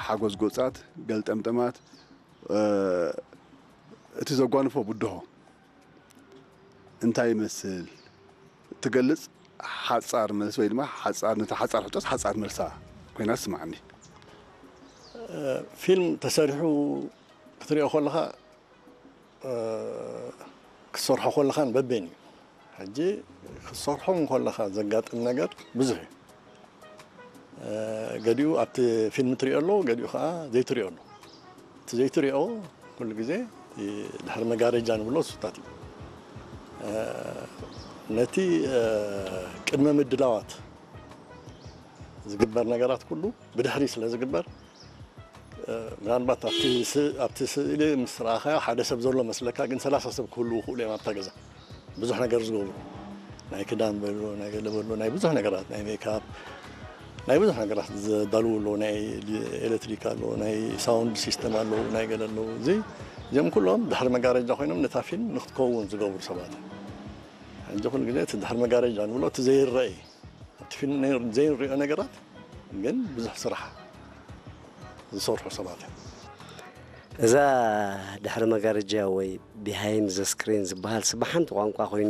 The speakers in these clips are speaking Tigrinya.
ሓጎዝጎጻት፣ ገልጠምጠማት፣ እ፣ እቲ ዘጓንፎ ብድሆ እንታይ ይመስል ትገልጽ ሓጻር መልሲ ወይ ድማ ሓጻር፣ ነታ ሓጻር ሕቶስ ሓጻር መልሳ ኮይና ትስምዓኒ። ፊልም ተሰሪሑ ክትሪኦ ከለኻ፣ እ፣ ክትሰርሖ ከለኻን በበይኑ እዩ። ሕጂ ክትሰርሖ እንከለኻ ዘጋጥም ነገር ብዙሕ እዩ። እ፣ ገዲኡ ኣብቲ ፊልም ትሪኦ ኣሎ፣ ገዲኡ ከዓ ዘይትሪኦ ኣሎ። እቲ ዘይትሪኦ ኩሉ ግዜ እቲ ድሕሪ መጋረጃ ንብሎ እሱታት እዩ። እ፣ ነቲ፣ እ፣ ቅድመ ምድላዋት ዝግበር ነገራት ኩሉ ብድሕሪ ስለ ዝግበር፣ እ፣ ምናልባት ኣብቲ ስ-፣ ኣብቲ ስእሊ ምስ ረኣኻዮ ሓደ ሰብ ዘሎ መስለካ፣ ግን ሰላሳ ሰብ ክህልዉ ይኽእሉ እዮም ኣብታ ገዛ። ብዙሕ ነገር ዝገብሩ፣ ናይ ክዳን በሎ፣ ናይ ገለ በሎ፣ ናይ ብዙሕ ነገራት፣ ናይ ሜክኣፕ፣ ናይ ብዙሕ ነገራት ዘዳልዉ ኣለዉ፣ ናይ ኤሌክትሪክ ኣለዉ፣ ናይ ሳውንድ ሲስተም ኣለዉ፣ ናይ ገለ ኣለዉ። እዚ፣ እዚኦም ኩሎም ድሕሪ መጋረጃ ኮይኖም ነታ ፊልም ንክትከውን ዝገብሩ ሰባት እዮም። ሕጂ ኩሉ ግዜ እቲ ድሕሪ መጋረጃ ንብሎ እቲ ዘይረአ እዩ። ኣብቲ ፊልም ናይ-፣ ዘይንሪኦ ነገራት ግን ብዙሕ ስራሕ ዝሰርሑ ሰባት እዮም። እዛ ድሕሪ መጋረጃ ወይ ቢሃይንድ ዘ ስክሪን ዝበሃል ስብ ሓንቲ ቋንቋ ኮይኑ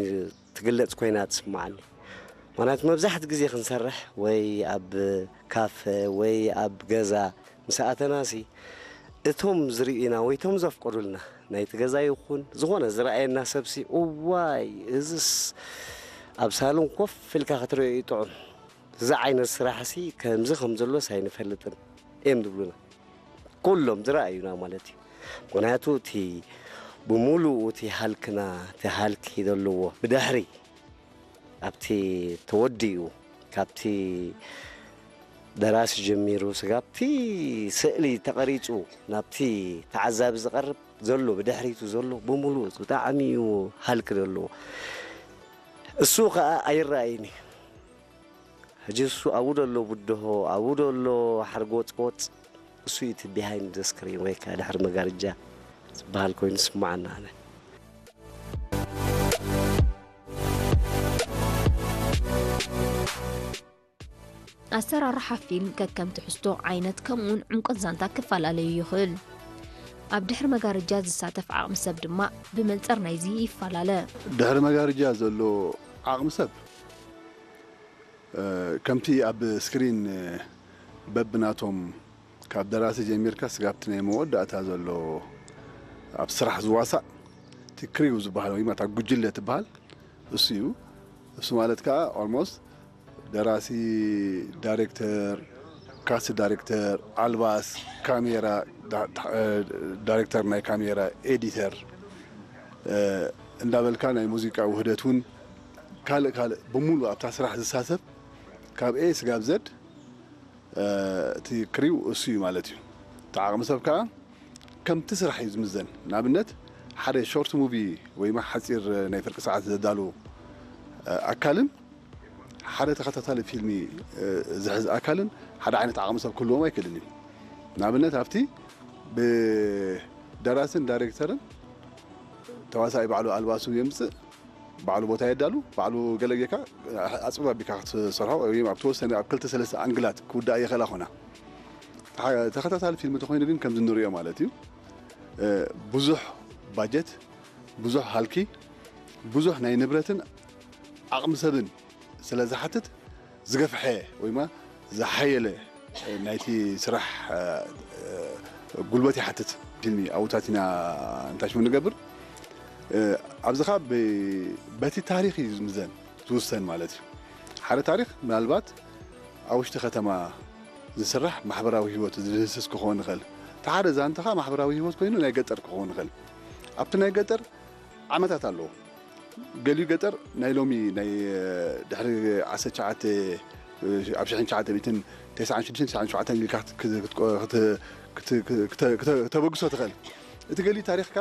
ትግለጽ ኮይና ትስምዓኒ። ምኽንያቱ መብዛሕትኡ ግዜ ክንሰርሕ ወይ ኣብ ካፈ ወይ ኣብ ገዛ ምስ ኣተናሲ እቶም ዝርእዩና ወይ እቶም ዘፍቀዱልና ናይቲ ገዛ ይኹን ዝኾነ ዝረኣየና ሰብሲ እዋይ እዝስ ኣብ ሳሎን ኮፍ ኢልካ ክትሪኦ እዩ ጥዑም። እዚ ዓይነት ስራሕሲ ከምዚ ከም ዘሎስ ኣይንፈልጥን እዮም ዝብሉና። ኩሎም ዝረኣዩና ማለት እዩ። ምኽንያቱ እቲ ብምሉኡ እቲ ሃልክና፣ እቲ ሃልኪ ዘለዎ ብድሕሪ ኣብቲ ተወዲኡ ካብቲ ደራሲ ጀሚሩ ስጋብ እቲ ስእሊ ተቐሪጹ ናብቲ ተዓዛቢ ዝቐርብ ዘሎ ብድሕሪቱ ዘሎ ብምሉኡ ብጣዕሚ እዩ ሃልኪ ዘለዎ። እሱ ኸኣ ኣይረኣይን እዩ። ሕጂ እሱ ኣብኡ ደሎ ብድሆ ኣብኡ ደሎ ሓርጎጽጎጽ እሱ እዩ እቲ ቢሃይንድ ስክሪን ወይ ከዓ ድሕሪ መጋርጃ ዝበሃል ኮይኑ ዝስምዓና ኣነ። ኣሰራርሓ ፊልም ከከም ትሕዝቶ፣ ዓይነት፣ ከምኡውን ዕምቆት ዛንታ ክፈላለዩ ይኽእል። ኣብ ድሕሪ መጋረጃ ዝሳተፍ ዓቕሚ ሰብ ድማ ብመንጽር ናይዚ ይፈላለ። ድሕሪ መጋረጃ ዘሎ ዓቕሚ ሰብ ከምቲ ኣብ ስክሪን በብናቶም ካብ ደራሲ ጀሚርካ ስጋብቲ ናይ መወዳእታ ዘሎ ኣብ ስራሕ ዝዋሳእ እቲ ክሪው ዝበሃል ወይ ማታ ጉጅለ ትበሃል እሱ እዩ። እሱ ማለት ከዓ ኦልሞስት ደራሲ፣ ዳይሬክተር፣ ካስት ዳይሬክተር፣ ኣልባስ፣ ካሜራ፣ ዳይሬክተር ናይ ካሜራ፣ ኤዲተር እንዳበልካ ናይ ሙዚቃ ውህደት እውን ካልእ ካልእ ብምሉእ ኣብታ ስራሕ ዝሳተፍ ካብ ኤ ስጋብ ዘድ እቲ ክሪው እሱ እዩ ማለት እዩ። እቲ ዓቕሚ ሰብ ከዓ ከምቲ ስራሕ እዩ ዝምዘን። ንኣብነት ሓደ ሾርት ሙቪ ወይ ሓፂር ናይ ፍርቂ ሰዓት ዘዳሉ ኣካልን ሓደ ተኸታታሊ ፊልሚ ዝሕዝ ኣካልን ሓደ ዓይነት ዓቕሚ ሰብ ክህልዎም ኣይክእልን እዩ። ንኣብነት ኣብቲ ብደራስን ዳይሬክተርን ተዋሳኢ ባዕሉ ኣልባሱ የምፅእ፣ ባዕሉ ቦታ የዳሉ፣ ባዕሉ ገለ ጌርካ ኣፅብብ ኣቢልካ ክትሰርሖ ወይ ኣብ ተወሰነ ኣብ ክልተ ሰለስተ ኣንግላት ክውዳእ ይኽእላ ኾና። ተኸታታሊ ፊልም እንተኾይኑ ግን ከምዚ ንሪኦ ማለት እዩ ብዙሕ ባጀት፣ ብዙሕ ሃልኪ፣ ብዙሕ ናይ ንብረትን ዓቕሚ ሰብን ስለ ዝሓትት ዝገፍሐ ወይማ ዝሓየለ ናይቲ ስራሕ ጉልበት ይሓትት። ፊልሚ ኣብታት ኢና እንታይ ሽሙ ንገብር ኣብዚ ካ በቲ ታሪክ እዩ ዝምዘን ዝውሰን ማለት እዩ። ሓደ ታሪክ ምናልባት ኣብ ውሽጢ ከተማ ዝስራሕ ማሕበራዊ ህይወት ዝድህስስ ክኸውን ይኽእል። እቲ ሓደ ዛንታ ካ ማሕበራዊ ህይወት ኮይኑ ናይ ገጠር ክኸውን ይኽእል። ኣብቲ ናይ ገጠር ዓመታት ኣለዎ። ገሊኡ ገጠር ናይ ሎሚ ናይ ድሕሪ ዓሰርተ ትሽዓተ ኣብ ሽሕን ትሽዓተ ሚእትን ተስዓን ሽዱሽተን ተስዓን ሸውዓተን ኢልካ ክተበግሶ ትኽእል። እቲ ገሊኡ ታሪኽካ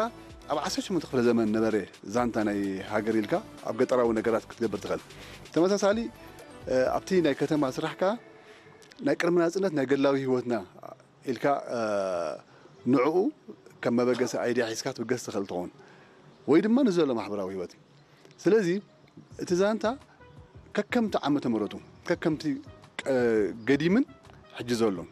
ኣብ ዓሰርተ ሸሞንተ ክፍለ ዘመን ነበረ ዛንታ ናይ ሃገር ኢልካ ኣብ ገጠራዊ ነገራት ክትገብር ትኽእል። ተመሳሳሊ ኣብቲ ናይ ከተማ ስራሕካ ናይ ቅድሚ ናፅነት ናይ ገድላዊ ህይወትና ኢልካ ንዕኡ ከም መበገሲ ኣይድያ ሒዝካ ትብገስ ትኽእል ትኸውን ወይ ድማ ንዘሎ ማሕበራዊ ህይወት እዩ። ስለዚ እቲ ዛንታ ከከምቲ ዓመተ ምሕረቱ ከከምቲ ገዲምን ሕጂ ዘሎን